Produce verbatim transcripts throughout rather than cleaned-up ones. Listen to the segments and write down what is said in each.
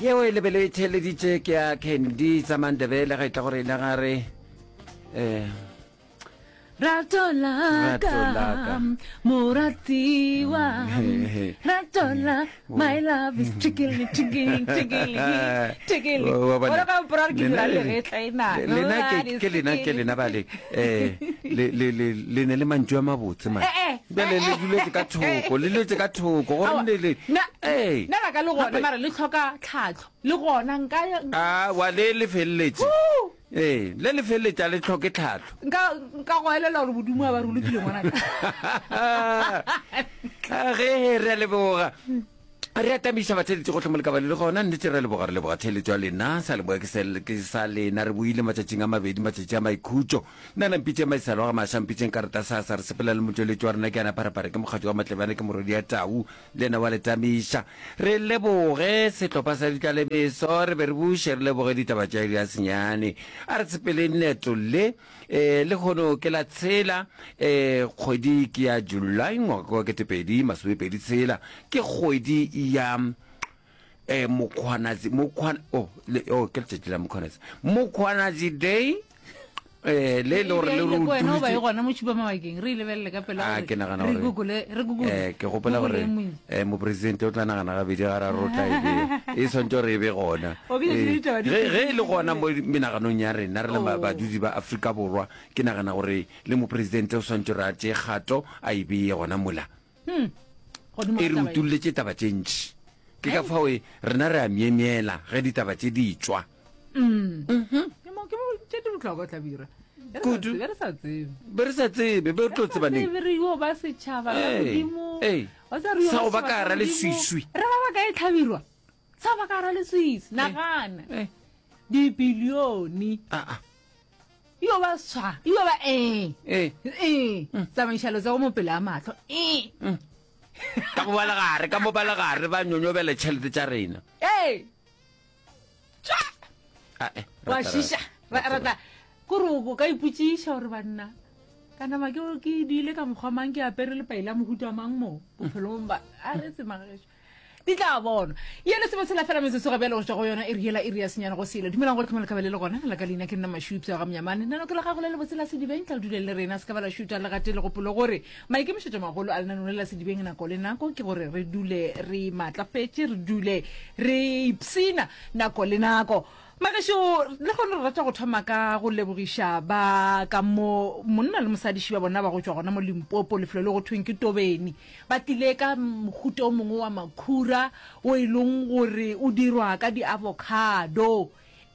Yeo e lebele e theeleditše ke ya Candy tsa Mandebele ga e tla gore e le gare um Rato la Rato la ka. ka, moratiwa. Rato la, my love is tickling, tickling, tickling, tickling. Wa bona. Bona ka mpora gore ke Lena dira le- legetla e na. le- lena ke- ke lena ke lena bale um le le- le le ne le mantšu a mabotse man Eh, eh, bjale eh, le eh. duletse ka thoko le letse ka thoko gore Aowa, ne le nna- ee nna la ka le gona Gape- mara le tlhoka tlhatlho le gona nka a wa le le feleletše Woo! ee le le feleletše a le tlhoke tlhatlho nka nka go elela gore bodimo a ba re o lokile ngwanaka Ah, ge re a leboga re atamiša batheletši gotlhe mo lekabale le gona nnete re a leboga re leboga theletšo ya lena sa leboga ke se- ke sa lena re boile matšatšing a mabedi matšatši a maikhutšo nna nampitše maisalo ga maša mpitšeng karata sasa re sepela le motšweletši wa rena ke ana pharapare ke mokgatšo wa matlebane ke morwedi ya tau le yena wa letamiša re leboge sehlopha sa ditlalemeso re be re buše re leboge ditaba tša iri ya senyane a re sepeleng leeto le um le kgono ke la tshela um kgwedi ke ya July ngwaga wa ketepedi masomepedi tshela ke kgwedi ya eh Mkhwanazi Mkhwana oh le oh ke letšatši la Mkhwanazi Mkhwanazi day eh le le gore le re wena o ba e utulotše- gona mo tšhupa mabakeng re e lebelele ka pela Ah, gore ke nagana re gore google re google eh ke gopola gore eh mopresidente o tla nagana gabedi ga raro o tla e bea e swantse gore e be gona O ke Eh, ditaba di ge ge e le gona mo menaganong ya rena re le ba- Oh. badudi ba Afrika Borwa ke nagana gore le mopresidente o swantse gore a tšee kgato a e beye gona mola godimo e ga re taba ye. utolletše taba tše ntši ke ka fao e rena re a myemyela ge ditaba tše di tšwa Ke mo- ke mo tše di bohlokwa hlabirwa Be re sa Kudu. tsebe, be re sa tsebe be re sa tsebe be re tlo tseba neng Tsebe re yo ba setšhaba ka Ee, godimo ee. Wa tseba re yo Sa go ba setšhaba ka hara godimo. leswiswi. re ba ba ka e tlhabirwa sa go ba ka hara leswiswi nagana Eh, dibilione ah, ah, yo ba swa yo ba ee eh. ee tsamaiša letsogo mo pele a matlho ee ka mo ba legare ka mo ba legare ba nyonyobela tšhelete tša rena ee tšwa Ah, eh, wa rata, šiša rata, Ra- rata kore o ka ipotsiša gore banna ka nama ke ke diile ka mokgwa mang ke apere lepai la mohuta mang mo bophelong ba a re tsemagešo di tla bonwa ye le sebe sela fela metsotso ga bjale go tšwa go yona iri yela iri ya senyane go sele dumelang gore tlhomole kabele le gona la ka leina ke nna mašupša ga mnyamane nano ke la gago le lebotse la sedibeng tla le dule le rena se ka ba la šuta le gate le gopolo gore maikemišetšo magolo a lenaneo le la sedibeng nako le nako ke gore re dule re maatlafetše re dule re ipsina nako le nako magešo le gone re rata go thoma ka go lebogiša ba ka mo monna le mosadiši ba bona ba go tšwa gona mo limpopo lefelo le go thweng ke tobeni ba tlile ka mohuta o mongwe wa makhura o e leng gore o dirwa ka di-avocado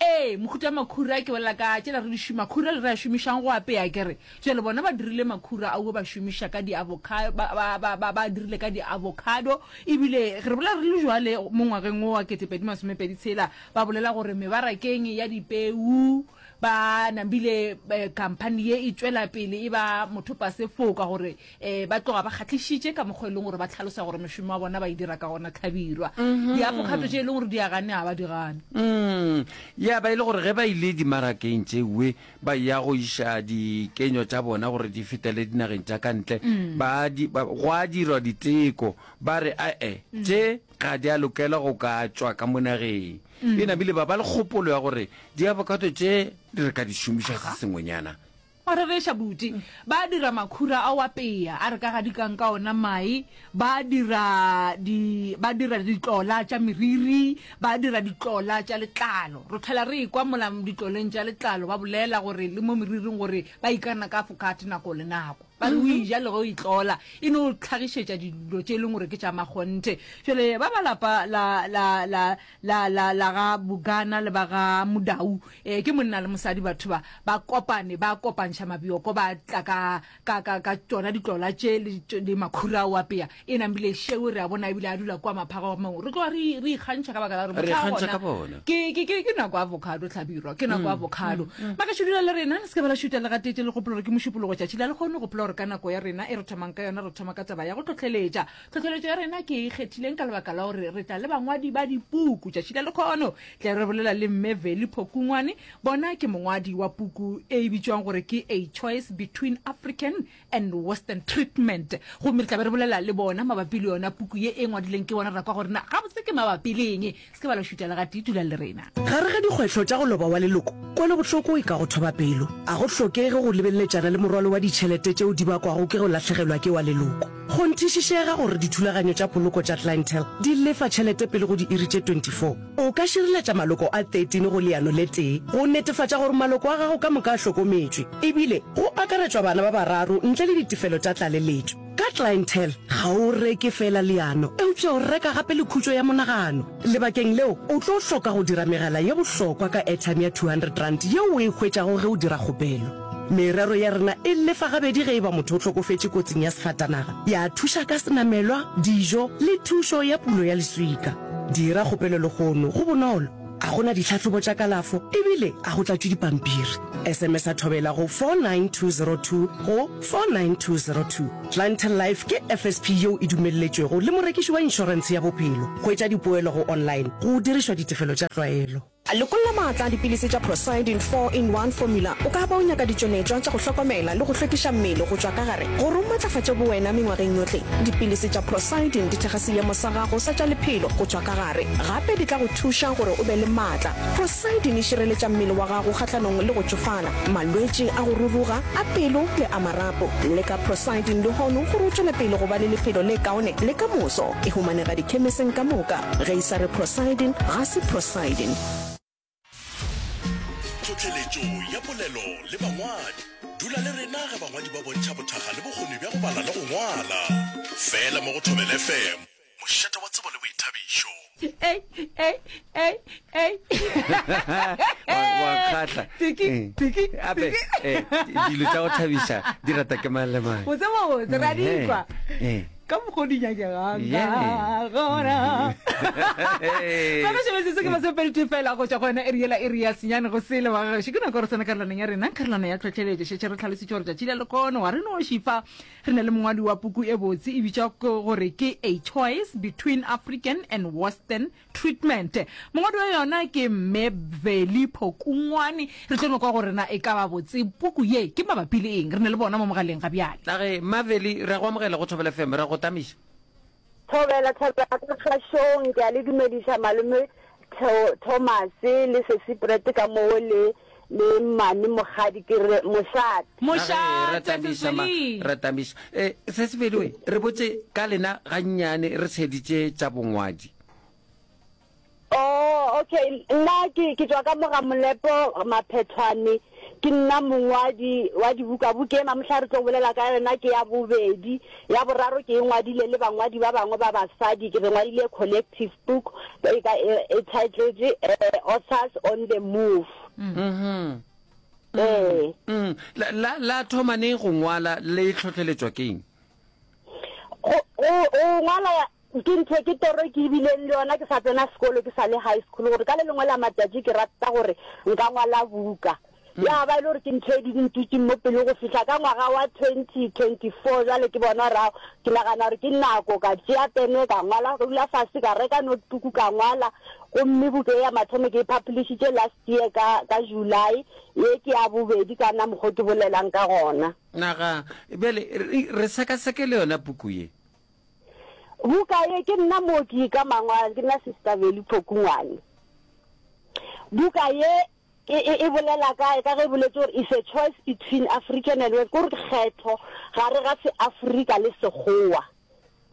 ee mohuta wa makhura ke bolela ka tšela re di šoma makhura le re a šomišang go apea kere jale bona ba dirile makhura ao ba šomiša ka di-avocado ba, ba, ba, ba, ba dirile ka di-avocado ebile re bolela re le jwale mo ngwageng wo wa ketepedi masomepedi tshela ba bolela gore mebarakeng ya dipeu ba nambile eh, company ye e tšwela pele e ba mothopa sefoka gore eh, ba tloga ba kgahlišitše ka mokgwa e leng gore ba tlhalosa gore mešomo wa bona ba e dira ka gona tlhabirwa diavocado tše e leng gore di a gane ga ba di gane Mm, ya ba e le gore ge ba ile dimarakeng tšewe ba ya go iša dikenyo tša bona gore di fetele dinageng tša ka ntle ba di- ba- go a dirwa diteko ba re ae tše ga di a lokela go ka tšwa ka mo nageng e nabile ba ba le kgopolo ya gore diavocado tše di re ka di šomiša se sengwenyana wa rereša buti ba dira makhura a o apea a re ka gadikang ka ona mae ba dira di ba dira ditlola tša meriri ba dira ditlola tša letlalo re tlhola re ekwa mola ditloleng tša letlalo ba bolela gore le mo meriring gore ba ikana ka avocado nako le nako ba re o eja le ge o itlola e no tlhagišetša dilo tše e leng gore ke tša makgonthe jale ba ba lapa la la la la la la ga bukana le ba ga modau eh ke monna le mosadi batho ba ba kopane ba kopantšha mabioko ba tla ka ka ka ka tšona ditlola tše le tše- le makhura ao apea e nambile šeo re a bona ebile a dula kwa maphago a mangwe re tloga re re ikgantšha ka baka la gore Re motho a ikgantšha gona ka bona. ke ke ke ke nako ya avocado hlabirwa ke nako ya avocado makašo dula le rena le se ke ba la šuta le gatete le gopola gore ke mošupologo tšatši la lekgono gopola gore gore ka nako ya rena e re thomang ka yona re thoma ka taba ya go tlhotlheletša. Tlhotlheletšo ya rena ke e kgethileng ka lebaka la gore re tla le bangwadi ba dipuku tšatši la lekgono. Tla re bolela le Mme Veli Phokungwane, bona ke mongwadi wa puku e e bitšwang gore ke A Choice Between African and Western Treatment. Gomme re tla be re bolela le bona mabapi le yona puku ye e ngwadileng ke bona, ra kwa gore na gabotse ke mabapi le eng. Se ke ba la šuta le gatee, dulang le rena. Gare ga dikgwetlho tša go loba wa leloko, kwelobohloko e ka go thoba pelo. A go hlokege go lebeleletšana le morwalo wa ditšhelete tšeo di bakwago ke go lahlegelwa ke wa leloko. Kgonthišišega gore dithulaganyo tša poloko tša Clientele di lefa tšhelete pele go diiri tše twenty four. O ka šireletša maloko a thirteen go leano le tee go netefatša gore maloko a gago ka moka a hlokometšwe, ebile go akaretšwa bana ba bararo ntle le ditefelo tša tlaleletšo. Ka Clientele, ga o reke feela leano, eupša o reka gape le khutšo ya monagano. Lebakeng leo, o tlo hloka go dira megala ye bohlokwa ka airtime ya two hundred rand yeo o e hwetšago ge o dira kgopelo. Merero ya rena e lefa gabedi ge e ba motho o hlokofetše kotsing ya sefatanaga, ya thuša ka senamelwa, dijo le thušo ya pulo ya leswika. Dira kgopelo lehono, go bonolo, a go na ditlhahlobo tša kalafo ebile a go tlatšwe dipampiri. S M S a Thobela go four nine two zero two go four nine two zero two. Clientele Life ke F S P yeo e dumelletšwego le morekiši wa inšorentshe ya bophelo. Hwetša dipoelo go online go dirišwa ditefelo tša tlwaelo. Lokolla maatla a dipilisi tša Procyldin four in one Formula. O ka ba o nyaka ditšweletšwa tša go hlokomela le go hlwekiša mmele go tšwa ka gare gore o matlafatše bowena mengwageng yohle. Dipilisi tša Procyldin di thekga seemo sa gago sa tša lephelo go tšwa ka gare. Gape di tla go thuša gore o be le maatla. Procyldin e šireletša mmele wa gago kgahlanong le go tšofala, malwetši a go ruruga, a pelo le a marapo. Leka Procyldin lehono gore o tšwele pele go ba le lephelo le kaone le ka moso. E humanega dikhemiseng ka moka. Ge e sa re Procyldin, ga se Procyldin. Tlhohleletšo ya polelo le bangwadi. Dula le rena ge bangwadi ba bontšha bothakga le bokgoni bja go bala le go ngwala. Fela mo go Thobela F M, mošate wa tsebo le boithabišo. Ei, ei, ei, ei. Wa wa kgahla. Tiki, Eh. tiki, Ape, tiki. eh, dilo tša go thabiša di rata ke mang le mang. Botse botse, ra di kwa. Eh. Ka mokgwa o di nyakegang Yeah. ka gona. Hey. Ba šebetse se ke masomepedi fela go tšwa go yona iri yela iri ya senyane go sele wa gešo. Ke nako re tsena karolwaneng ya rena, karolwana ya tlhotlheletšo. Šetše re tlhalositše gore tšatši la lekono ga re no šifa re na le mongwadi wa puku e botse e bitšwa ke gore ke A Choice Between African and Western Treatment. Mongwadi wa yona ke Mme Veli Phokungwane. Re tlo no kwa gore na e ka ba botse puku ye ke mabapi le eng. Re na le bona mo mogaleng ga bjale. Age, Maveli, re a go amogela go Thobela F M, re a go tamiša. Thobela, thobela ka kgašong, ke a le dumediša malome Theo, Thomas le Sesi Brett ka moo le le mmane Mokgadi, ke re mošate. Age, re Mošate, tamiša ma, Sesiveli. re tamiša. Eh, Sesiveli we, re botše ka lena gannyane re tsheditše tša bongwadi. Oh, okay, nna ke ke tšwa ka moga Molepo Maphethwane, ke nna mongwadi wa dibuka. Buka e mamohla re tlo bolela ka yona ke ya bobedi, ya boraro ke e ngwadile le bangwadi ba bangwe ba basadi, ke re ngwadile collective book e ka e, e titled eh, Authors on the Move. Mhm. Eh. Mm. La, la, la thoma neng go ngwala le tlhotlheletšwa ke eng? Go go go ngwala ke ntho ke toro ke ebileng le yona ke sa tsena sekolo, ke sa le high school, gore ka le lengwe la matšatši ke rata gore nka ngwala buka. Ya ba e le gore ke ntho e di ntutseng mo pele go fihla ka ngwaga wa twenty twenty four. Jwale ke bona gore ao, ke nagana gore ke nako ka tšea pene ka ngwala, ka dula fase ka reka notebook ka ngwala. Gomme buka ya mathomo ke e publishitše last year ka ka July, ye ke ya bobedi ka na mokgwa ke bolelang ka gona. Naga, bjale re, re sekaseke le yona puku ye. Buka ye ke nna mooki ka mangwalo, ke nna Sister Veli Phokungwane. Buka ye e, e, e bolela ka ka ge e boletse gore is a choice between African and West, kore kgetho gare ga se-Afrika le Sekgowa.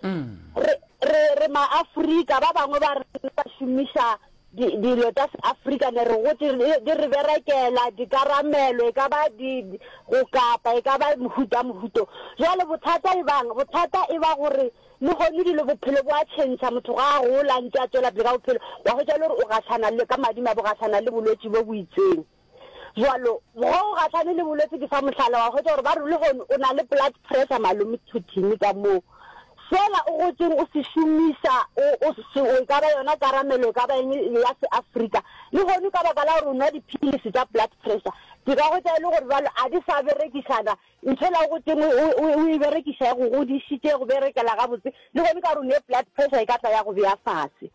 Re re re ma-Afrika ba bangwe ba rena ba šomiša di- dilo tša se-Afrika, ne re gotse di re berekela dikaramelo, e ka ba di di- go kapa, e ka ba mohuta mohuto. Jwale bothata e bang, bothata e ba gore le gone dilo bophelo bo a tšhentšha, motho ga a gola ntse a tswela pele ka bophelo, wa hwetša le gore o gahlana le ka madimabe o gahlana le bolwetši bo bo itseng. Jwalo ge o gahlane le bolwetši, ke fa mohlala, wa hwetša gore ba re le gone o na le blood pressure, malome Thothini ka moo. Sela o gotšeng o se šomiša, o, o se, o, e ka ba yona karamelo, e ka ba eng ya Seafrika, lehono ka baka la gore o nwa diphilisi tša blood pressure, ke ka hwetša e le gore bjalo a di sa berekišana, ntho ela o gotšeng o, o, o e berekiša e go godišitše, e go berekela gabotse, lehono ka gore o ne blood pressure e ka tla ya go bea fase.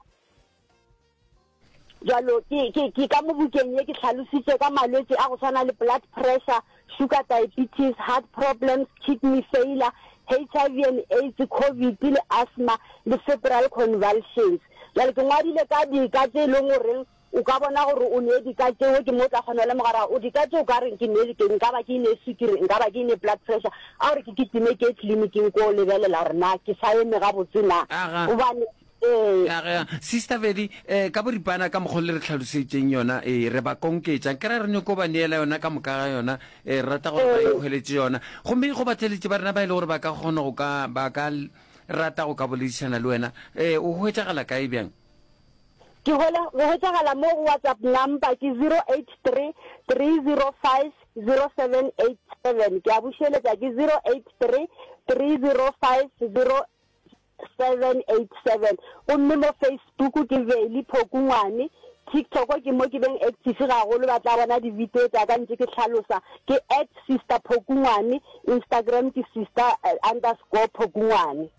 Bjalo, ke, ke, ke ka mo bukeng ye ke hlalositše ka malwetši a go swana le blood pressure, sugar diabetes, heart problems, kidney failure, H I V and AIDS, covid le asthma le febrile convulsions. Bjale ke ngwadile ka dika tše e leng goreng o ka bona gore o ne dika tšeo, ke mo o tla kgona go lemoga gore o dika tše o ka reng ke ne, ke nka ba ke ne sukiri, nka ba ke ne blood pressure, a gore ke kitime ke ye tleliniking ko lebelela gore na ke sa eme gabotse na. Aga. Gobane Ee. Ya ge, Sister Veli, eh, ka boripana ka mokgwa le re hlalosetšeng yona, ee, re ba konketša. Nkere re nyoko ba neela yona ka moka ga yona, eh, re rata gore ba Ee. ikhweletše yona. Gomme go batheeletši ba rena ba e le gore ba ka kgona go ka, ba ka rata go ka boledišana le wena, eh, o hwetšagala kae bjang? Ke hwela, go hwetšagala mo go WhatsApp number ke zero eight three, three zero five, zero seven eight seven. Ke a bušeletša ke zero eight three, three zero five, zero seven eight seven gomme mo Facebook ke Veli Phokungwane, TikTok ke mo ke beng active gagolo ba tla bona di video tša ka ntše ke hlalosa ke at sister Phokungwane, Instagram ke sister underscore Phokungwane.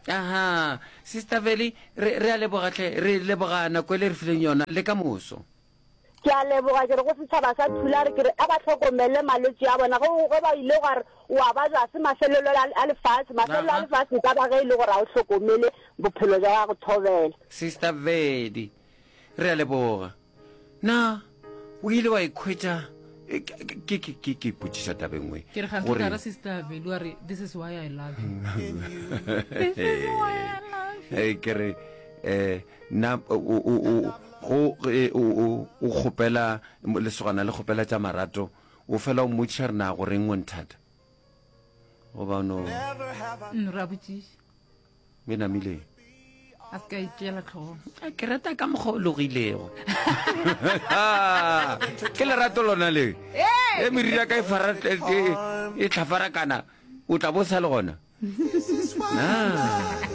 Aha, Sister Veli, re, re a leboga hle, re leboga nako e le re fileng yona, le ka moso. Ke a leboga, ke re go setšhaba sa Thulare, ke re a ba hlokomele malwetši a bona. Ge, ge ba ile gwa re o a babja, ga se mafelelo a, a lefase. Mafelelo a Aha. lefase e ka ba ge e le gore ga o hlokomele bophelo bja gago. Thobela. Sister Vedi, re a leboga. Na o ile wa ikhwetša e, ke, ke, ke, ke, ke ipotšiša taba e nngwe Ke re gantsi gore ka ra Sister Vedi wa re this is why I love you. This is why I love you. Eh, ke re eh na o o o go e, o o o kgopela lesogana le kgopela tša marato o fela o mmotšiša re na go reng o nthata goba no Mm, re a botšiša me namile a se ka e tšeela tlhogong. A ke rata ka mokgwa o logilego ke lerato lona le e meriri ya ka e fara e, e, e tlhafarakana o tla bo sa le gona. Na